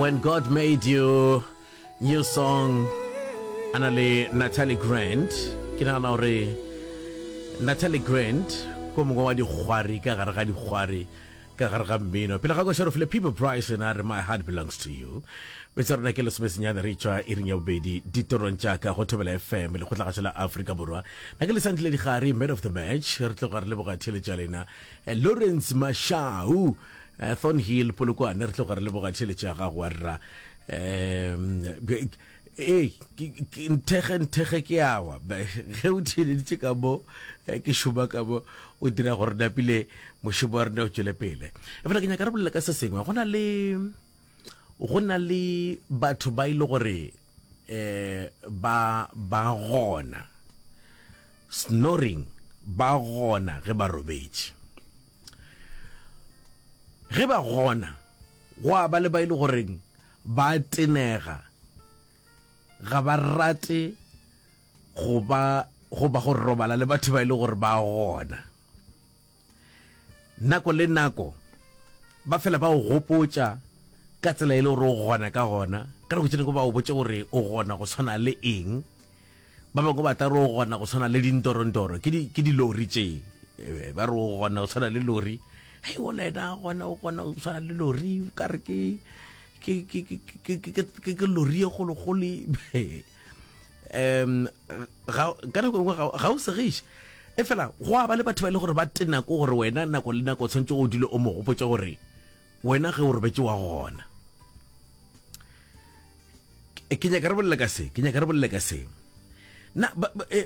When God Made You, new song, a na le Natalie Grant. Ke nagana gore Natalie Grant ko mongwe wa dikgwari ka gare ga dikgwari ka gare ga mmino. Pele ga koša re file People Bryson a re My Heart Belongs to You. Metsa rona ke lesomesenyane re tšwa iring ya bobedi ditorong tša ka go Thobela FM lekgotlagašo la Afrika Borwa. Na ke Lesantle Digare man of the match re tloga re leboga theeletšo ya lena. Eh, Lawrence Mashau Eh, Thornhill Polokwane re tloga re leboga tšhelete ya gago wa rra um ee nthege nthege ke awa ge o theeleditše ka mo eh, ke šoma ka mo o dira gore napile mošomo wa rena o tšwele pele efela ke nyaka re bolela ka se sengwe go na le go na le batho ba ile e gore um ba ba gona snoring ba gona ge ba robetše Ge ba gona, gwa ba le ba e le goreng ba tenega, ga ba rate go ba goba go robala le batho ba e le gore ba gona. Nako le nako ba fela ba o gopotša ka tsela e le gore o gona ka gona, ka nako tše dingwe ba o botše gore o gona go swana le eng. Ba bangwe ba tla re o gona go tshwana le dintorontoro, ke di, ke dilori tše. Eh, ba re o gona go tshwana le lori. Hei, o ena gona o gona go tshwana le lori, o ka re ke ke ke ke ke ke ke ke lori e kgolokgolo. Um ga ka nako e nngwe ga ga o segiše. E fela go a ba le batho ba e le gore ba tena ko gore wena nako le nako o tshwanetse o dule o mo gopotša gore wena ge o robetše wa gona. Ke nyaka re bolele ka se, ke nyaka re bolele ka se. Na ba, ba, e,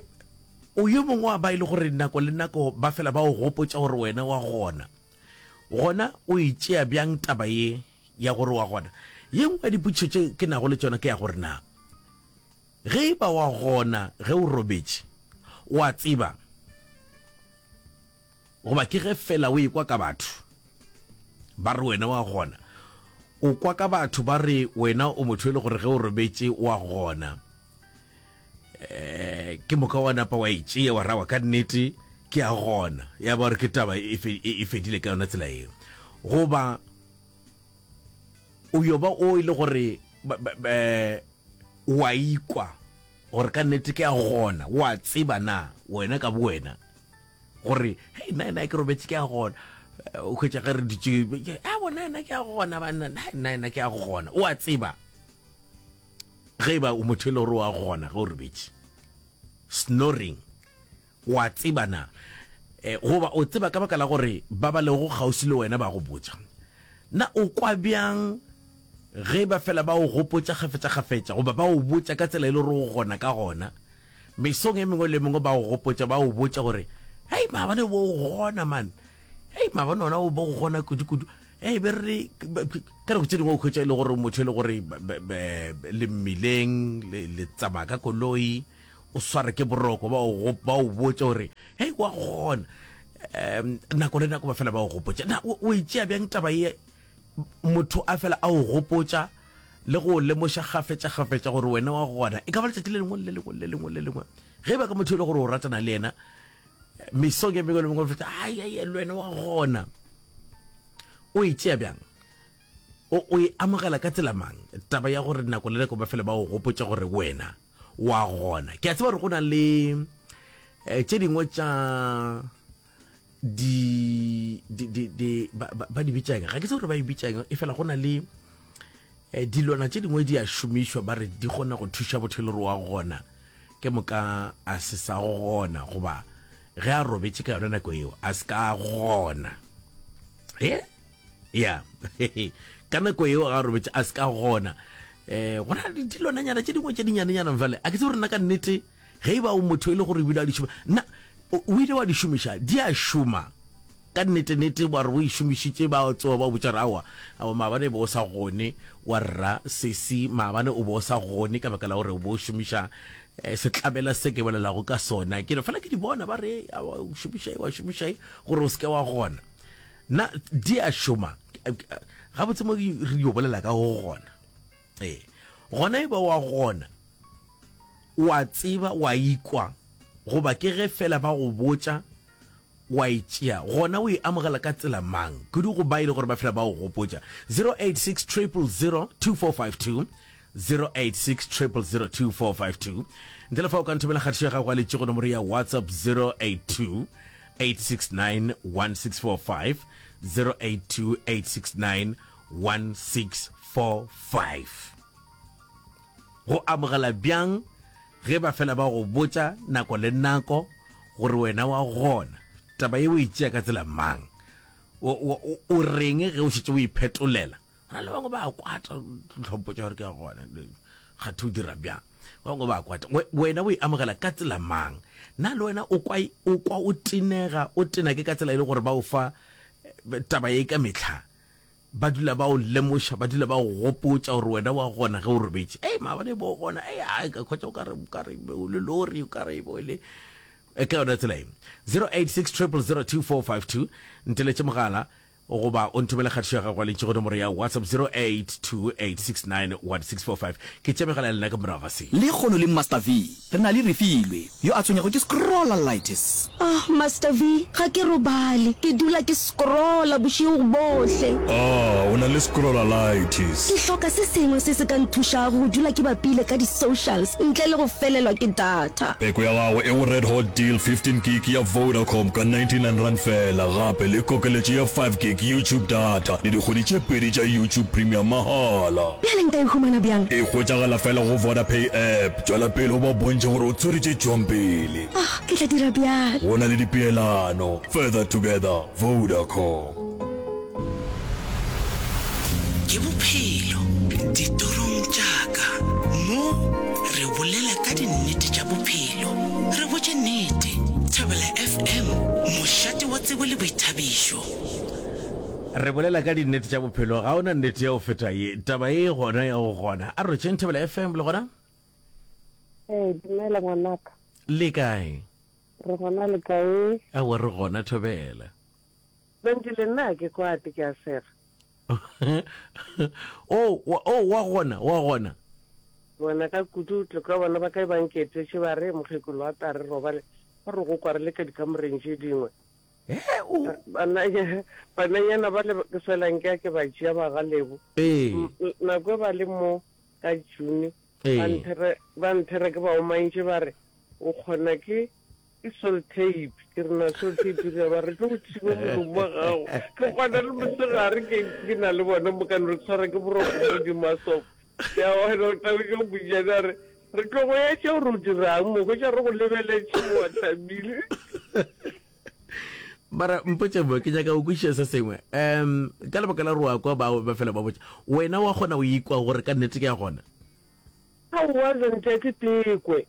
o yo mongwe wa ba e le gore nako le nako ba fela ba o gopotša gore wena wa gona. Gona o e tšea bjang taba ye ya gore wa gona? Ye nngwe ya dipotšišo tše ke nago le tšona ke ya gore na ge e ba wa gona ge o robetše, wa tseba Goba ke ge feela o ekwa ka batho ba re wena wa gona? O kwa ka batho ba re wena o motho e le gore ge o robetše wa gona. Eh, ke moka wa napa wa e tšea wa rawa ka nnete ke a gona. Ya ba gore ke taba e, e, e fedile ka yona tsela eo. Goba o yo ba o e le gore wa ikwa gore ka nnete ke a gona, wa tseba na wena ka bowena gore hei nna ena ke robetse ke a gona eh, o hwetša ge re dutše a bona ena ke a gona banna nna ena ke a gona o a tseba ge e ba o motho e le gore o a gona ge o robetše snoring o a tseba na eh, goba o tseba ka baka la gore ba ba lego kgauswi le wena ba go botša na o kwa bjang ge ba fela ba o gopotša kgafetša-kgafetša goba ba o botša ka tsela e le gore o gona ka gona Mesong e mengwe le e mengwe ba go gopotša, ba go botša gore, Hei, maabane o bo o gona, man. Hei, maabane ona o bo o gona kudu-kudu. Hei, be re ka nako tše dingwe o hwetša e le gore motho e le gore le mmileng, le tsamaya ka koloi, o sware ke boroko, ba o ba o botša gore, hei, wa gona. Um, nako le nako ba fela ba o gopotša. Na o e tšea bjang taba ye motho a fela a o gopotša le go o lemoša kgafetša-kgafetša gore wena wa gona, e ka ba letšatši le lengwe le lengwe le lengwe le lengwe, ge e ba ka motho e le gore o ratana le yena, mesong e mengwe le mengwe feta, ai, ai, le wena wa gona. O e tšea bjang? O, o e amogela ka tsela mang? Taba ya gore nako le nako ba fele ba o gopotša gore wena wa gona. Ke a tseba gore go na le eh, tše dingwe tša di di di di ba ba di bitšang ga ke tsebe gore ba e bitšang e fela go na le eh, dilwana tše dingwe di a šomišwa ba re di kgona go thuša botho e le gore wa gona ke moka a se sa gona goba ge a robetše ka yona nako eo a se ka gona e ya ka nako eo ga a robetše a se ka gona um go na le dilwananyana tše dingwe tše dinyanenyana fale a ke tsebe gore nna ka nnete Ge e ba o motho e le gore o ile wa di šoma, na o ile wa di šomiša? Di a šoma ka nnete-nnete, wa re o e šomišitše, ba tsoga ba o botša gore aowa, aowa, maabane e be o sa gone, wa rra sesi, maabane o be o sa gone ka baka la gore o be o šomiša eh, setlabela se ke bolelago ka sona. Ke no fela ke di bona ba re, aowa, o šomiša e, wa šomiša e, gore o se ke wa gona. Na di a šoma? Gabotse mo re yo bolela ka go gona. Ee, gona e ba wa gona, o a tseba, wa ikwa, goba ke ge fela ba go botša. Wa e tšea, gona o e amogela ka tsela mang? Kudu go ba e le gore ba fela ba o gopotša. 086 000 2452, 086 000 2452. Ntle le fa o ka nthomela kgatišo ya gago ya letšego nomoro ya WhatsApp 082 869 1645, 082 869 1645. Go amogela bjang ge ba fela ba go botša nako le nako gore wena wa gona? Taba ye o e tšea ka tsela mang? O, o, o, o reng ge o šetše o iphetolela? Go na le bangwe ba kwata tlhompho tša gore ke ya gona. Kgathe o dira bjang? Ba bangwe ba kwata. Wena o e amogela ka tsela mang? Na le wena o kwa o kwa o tenega, o tena ke ka tsela e le gore ba o fa eh, taba ye ka mehla? Ba dula ba o lemoša, ba dula ba o gopotša gore wena wa gona ge o robetše. Ei, maabane bo gona, ei, ai, ka khwetša o ka re, o ka re o le lori, o ka re bo le. E ka yona tsela e. 086 000 2452, nteletše mogala goba o nthomele kgatišo ya gago ya lentšu go nomoro ya WhatsApp 0828691645. Ke tšea megala ya lena ka morago ga se. Lekgono le Master V Re na le Refilwe, yo a tshwenyago ke scrollalitis. Ah, Master V, ga ke robale. Ke dula ke scrolla bošego bohle. Ah, o na le scrollalitis. Ke hloka se sengwe se se ka nthušago go dula ke bapile ka di-socials ntle le go felelwa ke data. Peko ya gago e go Red Hot Deal 15 gig ya Vodacom ka R99 feela, gape le kokeletšo ya 5 gig YouTube data le dikgwedi tše pedi tša YouTube Premium mahala. Bjale nka e humana bjang? E hwetšagala feela go Vodapay app. Tšwela pele o ba bontšhe gore o tswere tše tšwang pele. Ah, ke tla dira bjalo. Go na le dipeelano. Further together, Vodacom. Ke bophelo ditorong tša ka. Mo re bolela ka dinnete tša bophelo. Re botše nnete. Thobela FM, mošate wa tsebo le boithabišo. Re bolela ka dinnete tša bophelo, ga ona nnete ya go feta ye. Taba ye gona ya go gona. A re tšeng Thobela FM le gona? Ee, dumela ngwanaka. Le kae? Re gona le kae? Aowa re gona Thobela. Bentše le nna ke kwate ke a sega. Oh, wa, oh, wa gona, wa gona. Bona ka kudu tlo ka bona ba kae ba nketetše ba re mokgekolo wa tla re robale ba re go kwa re le ka dikamoreng tše dingwe. He, o. Bananya, bananyana ba le ke fela nke a ke ba tšea ba ga Lebo. Ee. Nako e ba le mo ka June, Ee. ba nthere, ba nthere ke ba omantše ba re, o kgona ke, ke sol tape. Ke re na sol tape ke ba re tlo go thiba molomo wa gago. Ke kgona le mosegare ke, ke na le bona mo ka no re tshwara ke boroko mo godimo ga sofa. Ya wena o tla be ke botša a re, re tlo go etša gore o dirang mo, hwetša re go lebeletše mo wa thabile. Mara mpotše mo, ke nyaka go kwešiša se sengwe. Um, ka lebaka la gore wa kwa bao ba fela ba botša, wena wa kgona go ikwa gore ka nnete ke ya gona? Aowa, Zente, ke tekwe.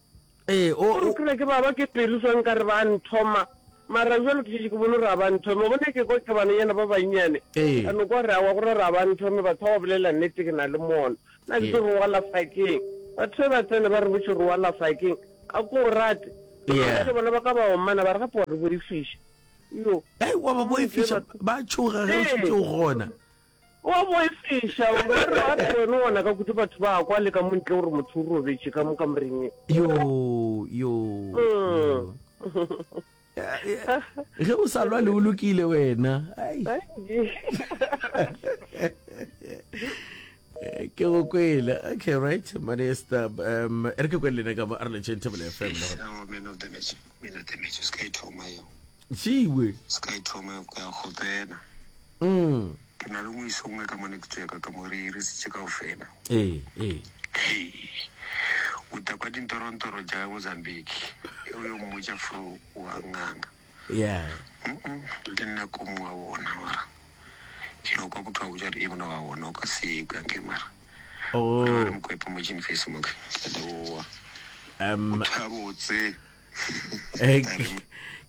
Ee, o, Gore o. ke re ke baba ke pelo so nkare ba nthoma, mara bjalo ke šetše ke bone gore ga ba nthome. Wa bona ke kwa ke bananyana ba bannyane, Ee. ka no kwa gore aowa, gore ga ba nthome, batho ba ba bolela nnete ke na le mono. Nna ke Ee. tlo re wa lafakeng. Batho ge ba tsena ba re botše gore wa lafakeng, a ko o rate. Yeah. Bjale bona ba ka ba omana ba re gape wa re boifiša. Yo. Hei, wa ba boifiša, ba tšhoga ge o šetše o gona. Wa boifiša, o ka re gape wena o ona ka kudu batho ba kwa le ka mo ntle gore motho o robetše ka mo kamoreng ye. Yo, yo, yo. Ge o sa lwale o lokile wena. Ai. Ke go kwele. Okay, right. Minister, um, e re ke kwele lena ka mo a re letšeng Thobela FM le gona. Aowa, man of the match, man of the match, se ka e thoma yeo. Tšiwe. Se ka e thoma yeo, ke a kgopela. Mm. Ke na le ngweso ngwe ka mone ke tsweka ka mo re irisitše kaofela. Ee, ee. Hei, o tla kwa dintorontoro tša Mozambique, e o yo mmotša fro wa nganga. Yeah. Mm-mm, le nna ko mongwe wa bona mara. Ke no kwa motho a botša gore e mona wa bona o ka se kwe anke mara. Oh. Re mokwepe mo gin face mo ke. Ke leboa. Um, Motho a botse. Eh,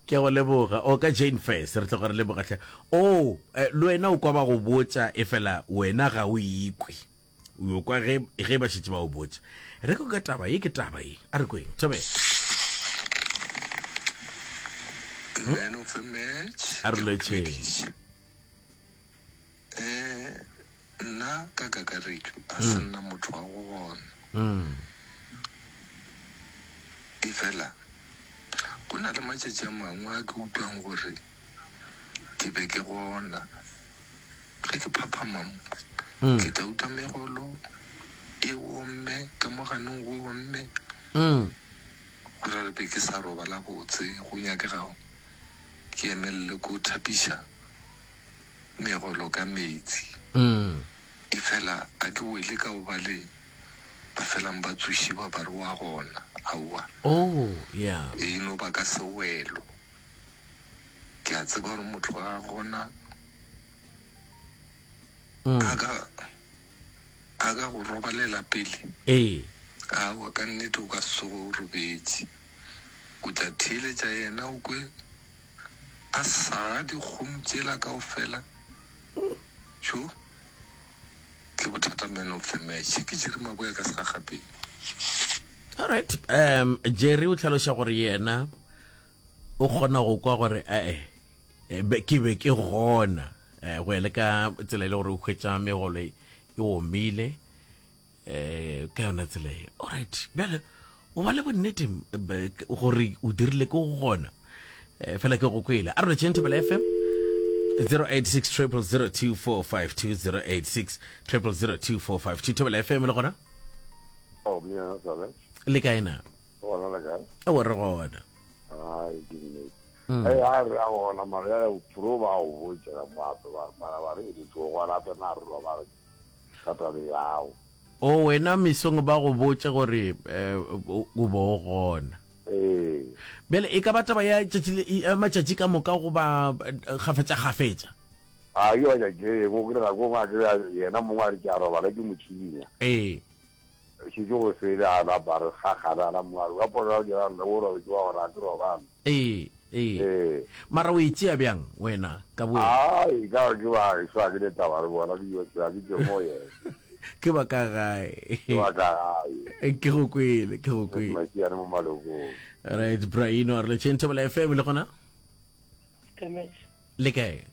ke go leboga o ka jane first re tloga re leboga tlhe o eh, le wena o kwa ba go botša e fela wena ga o ikwe o yo kwa ge ge ba šetše ba o botša re ko ka taba ye ke taba ye a re kweng thobela Man of the match. A re lotšheng. Eh, nna ka kakaretšo a se nna motho wa go gona. Efela go na le matšatši a mangwe a ke utlwang gore. Ke be ke gona. Ge ke phaphama mo, ke tla uta megolo e omme, ka mo ganong go omme. Go ra re be ke sa robala botse, go nyakegago ke emelele ko thapiša megolo ka meetse. Efela a ke wele ka go ba le ba felang ba tsošiwa ba re wa gona. Aowa. Oh, yeah. E no ba ka sewelo. Ke a tseba gore motho ga a gona a ka a ka go robalela pele. Ee. Aowa, ka nnete o ka se tsoge o robetše. O tla theeletša yena o kwe a saga dikgomo tšela kaofela. Tjo, ke bothata man of the match. Ke Jerry Maboya ka Segagapeng. Alright, um Jerry o hlaloša gore yena o kgona go kwa gore ee eh, ke be ke gona eh, go ya le ka tsela e le gore o hwetša megolo e omile um ka yona tsela e alright bjale o ba le bonnete gore o dirile ke go gona um fela ke go kwele a re letšeng thobela fm 086 0002452 086 0002452 thobela fm le gona oh, le kae na Gona le kae? Ewa re gona. Ai ke nnete. Mm. Hey, a re a gona mara ya pro ba o botša ka mo ape ba mara ba re e tlo gona ape na re lo ba re ka tabe yao. O wena mesong ba go botše gore eh, o bo o gona. Ee. Bjale e ka ba taba ya tšatši le ya matšatši ka moka goba eh, kgafetša kgafetša? A ke ba tšatši go kry nako ngwe a kry yena mongwe a re ke a robala ke mo tšhinya. Ee. Šetše go sele a napa re gagana na mongwe a re wa pona dira nna o robetše wa gore a ke robala. Ee, ee. Ee. Mara o e tšea bjang wena ka bowena? Ai, ka gore ke ba gešo ga ke ne taba le bona, ke yo tseba ke tšwe mo yena. Ke ba ka gae. Ke ba ka gae. Ke go kwele, ke go kwele. Masiane mo malokong. Right, Braino a re letšeng Thobela FM le gona? Kamehla. Le kae?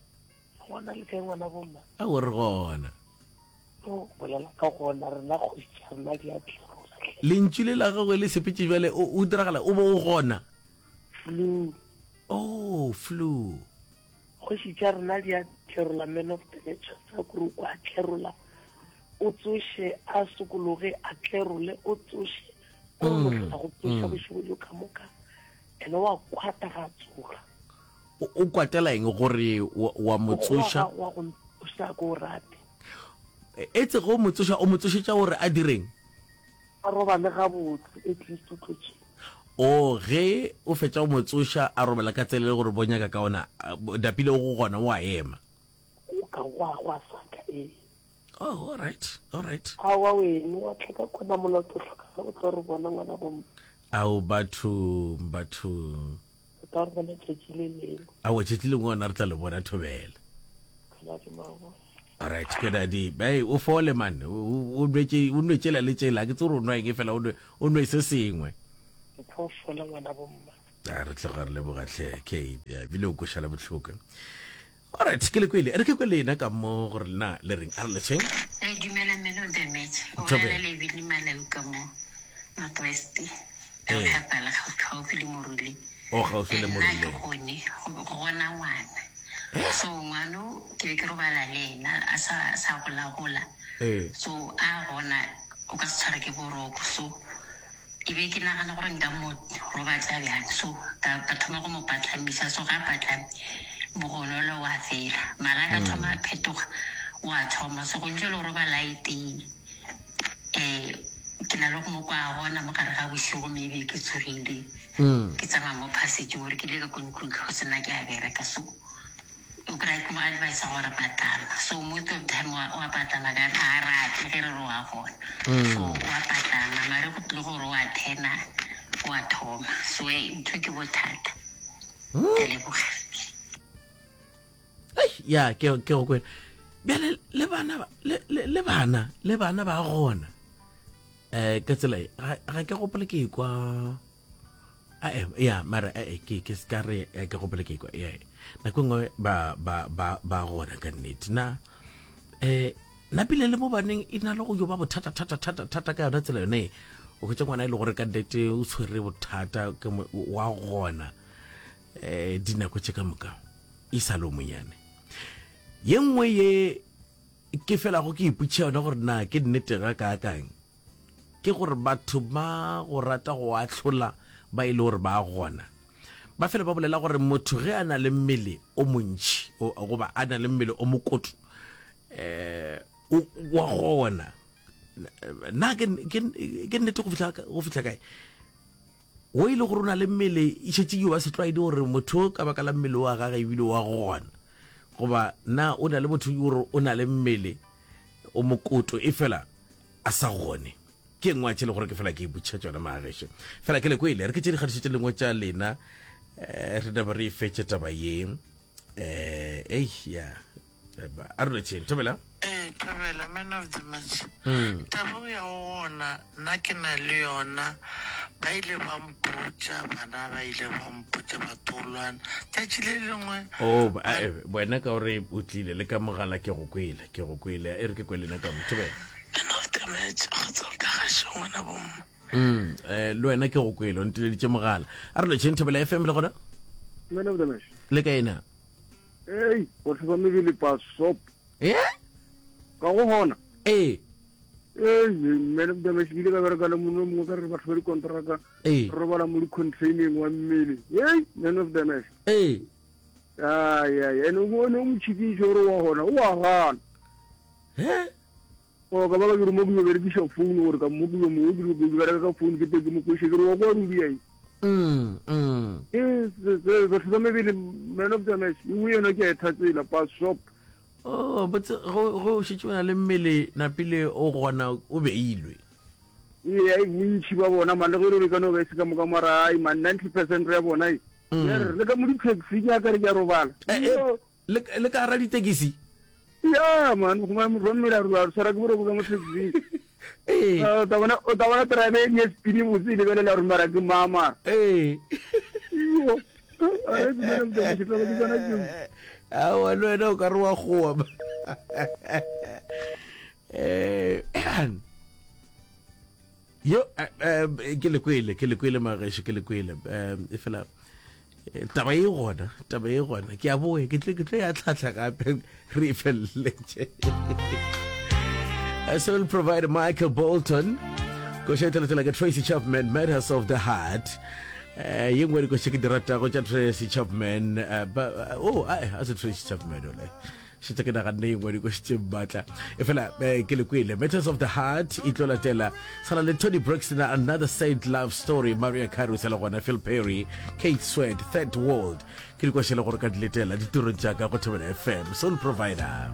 Gona le kae ngwana bomma? Ao re gona. O bolela ka gona rena kgoši tša rena di a tlerola hle. Lentšu le la gagwe le sepetše bjale o o diragala o bo o gona. Flu. Oh, flu. Kgoši tša rena di a tlerola man of the match sa kore o a tlerola o tsoše a sokologe a tlerole o tsoše o re mohlola go tsoša bošego bjo ka moka ene wa kwata ga a tsoga. O kwatela eng gore wa mo tsoša? Wa go ntsoša ko o rate. Etse go mo tsoša o mo tsošetša gore a direng? A robale gabotse at least o tlo tše. O ge o fetša go mo tsoša a robala ka tsela e le gore bo nyaka ka ona dapile o go gona o a ema. O ka gwa gwa saka ee. Oh, all right, all right. Aowa wene wa tla ka kona molato hloka o tlo re bona ngwana bomma. Ao bathong bathong. Re tla re bona tšatši le lengwe. Aowa tšatši lengwe gona re tla le bona thobela. Kgaladi mabo. Alright, Kwenadi, hey, o fole man, o nwetše o nwe tšela le tšela, ke tse gore o nwa eng fela o nwe o nwe se sengwe. Ke tlo fola ngwana bomma. A re tloga re leboga hle Kate, ya bile o koša le bohloko. Alright, ke le kwele, re ke kwe lena ka mo gore lena le reng, a re letšheng. Re dumela man of the match. O bolela le Billy Malau ka mo North West. Re Ee. phapala gaufi le Moruleng. O gaufi le Nna Moruleng. ke gone go gona ngwana. So ngwano ke be ke robala le ena a sa sa gola gola. Ee. So a gona o ka se tshware ke boroko so ke be ke nagana gore nka mo robatša bjang so ka ka thoma go mo patlamisa so ga patlame mogonolo wa fela mara a ka thoma a phetoga wa thoma so go ntse le go robala e tee um ke na le go mo kwa gona mo gare ga bošego maybe ke tsogile ke tsamaya mo passage gore ke ile ka ko ntlong go sena ke a bereka so o kry-a ke mo advisa gore patala so most of time wa wa patala ka ga a rate ge re re wa gona so wa patala mare go tlile gore wa thena wa thoma so eh, ntho ke bothata ke leboga Ei, ya ke ke go kwele bjale le bana ba- le le- le bana le bana ba gona eh ka tsela e ga ga ke gopole ke kwa ae ya mara ae ke ke se ka re eh, ke gopole ke kwa ya nako e nngwe ba ba ba ba gona ka nnete na eh napile le mo baneng e na le go yo ba bothata thata thata thata ka yona tsela yone e. o hwetša ngwana e le gore ka nnete o tshwere bothata ke mo- wa gona eh dinako tše ka moka. E sa le o monyane. Ye nngwe ye ke felago ke ipotšiša yona gore na ke nnete ga kaakang, ke gore batho ba go rata go ahlola ba e le gore ba gona. Ba fela ba bolela gore motho ge a na le mmele o montši goba a na le mmele o mokoto um wa gona. Na ke nnete go fihla kae? Wo e le gore o na le mmele, e šetše e ba setlwaedi gore motho ka baka la mmele wa gage ebile wa gona. Goba na o na le motho gore o na le mmele o mokoto e fela a sa gone. Ke engwe ya tše le gore ke fela ke ipotšiša tšona magagešo. Fela ke le kwele, re ke tše dikgatišo tše lengwe tša lena, eh, re napa re e fetše taba ye. Eh, ei, ya. A re lotšheng, thobela. Ee, thobela, man of the match. Taba o ya go gona, nna ke na le yona. Ba ile ba mpotša, bana ba ile ba mpotša batolwana. Tšatši le lengwe. Oh, ba, eh, wena ka gore o tlile le ka mogala ke go kwele, ke go kwele. E re ke kwele nna ka mo, thobela. Man of the match, kgotsa o ka gašo ngwana bomma. Mm, eh, le wena ke go kwele, o nteleditše mogala. A re lotšheng, thobela FM le gona? Man of the match. Le kae na? Ei, batho ba mebele pasop. Eh? Ka go gona. Ee. Ei, man of the match ke ile ka bereka le mongwe mongwe ka re batho ba dikontraka. Ee. Re robala mo di-containing wa mmele. Ei, man of the match. Ee. Ai, ai, ene o ne o mo tšhikiša gore wa gona, o a gana. He? O ka ba ka ke re mo ke yo berekiša phone gore ka mo ke yo mongwe ke ke bereka ka phone ke te ke mo kweše ke re wa kwa ruri ai. Mm, mm. E se batho ba mebele man of the match e nngwe yona ke a e thatsela pa shop. Oh, botse go go šetše o na le mmele napile o gona o beilwe. Ee, ai bontši ba bona man le ge e le gore e ka no ba e se ka moka mara ai man 90% ya bona ai. Mm. Ya re le ka mo di-taxi ke a ka re ke a robala. Eh, eh, Le, le ka gara ditekisi? Ya man, go motho wa mmele a re tshwara ke boroko ka mo taxi. Ee. Ah, o tla bona o tla bona driver e ne spini botse e lebelela gore mara ke mama. Ee. Yo. A re dumela motho ke tla ke tsona ke. Aowa le wena o ka re wa goa. Eh, yo eh, eh, ke le kwele ke le kwele magesho ke le kwele um e fela eh, taba e gona taba e gona ke a boe ke tle ke tlo ya tlhatlha gape re e feleletše Soul provider Michael Bolton koša e tlalatela ka Tracy Chapman Matters of the Heart eh ye nngwe dikoša ke di ratago tša Tracy Chapman eh, ba, oh a a se Tracy Chapman ole Šetše ke naganne ye nngwe dikoši tše maatla. Efela eh, ke le kwele. Matters of the Heart e tlo latela. Sala le Toni Braxton, Another Sad Love Story, Mariah Carey sa le gona, Phil Perry, Keith Sweat, Third World. Ke dikoši le gore ka di letela ditirong tša ka go Thobela FM. Soul Provider.